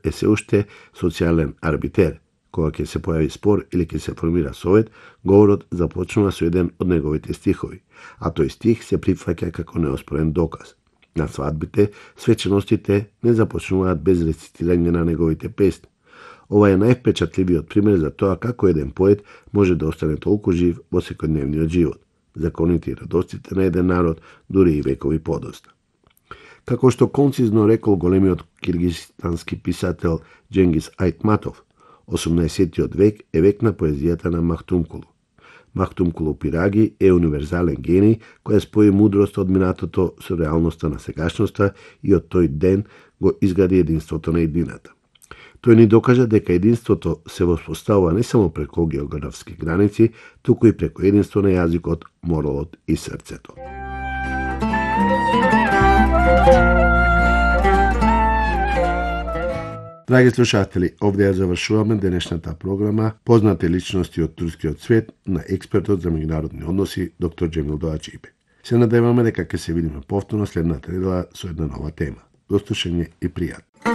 е се уште социјален арбитер. Кога ќе се појави спор или ќе се формира совет, говорот започнува со еден од неговите стихови, а тој стих се прифаќа како неоспорен доказ. На свадбите, свеченостите не започнуваат без рецитирање на неговите песни. Ова е највпечатливиот пример за тоа како еден поет може да остане толку жив во секојдневниот живот, законите и радостите на еден народ, дури и векови подоста. Како што концизно рекол големиот киргизстански писател Дженгис Айтматов, 18-тиот век е век на поезијата на Махтумкулу. Махтумкулу Пираги е универзален гений која спои мудрост од минатото со реалноста на сегашноста и од тој ден го изгради единството на едината. Тој ни докажа дека единството се воспоставува не само преку географски граници, туку и преку единство на јазикот, моралот и срцето. Драги слушатели, овде ја завршуваме денешната програма Познати личности од турскиот свет на експертот за меѓународни односи доктор Џемил Доаџибе. Се надеваме дека ќе се видиме повторно следната недела со една нова тема. До слушање и пријатно.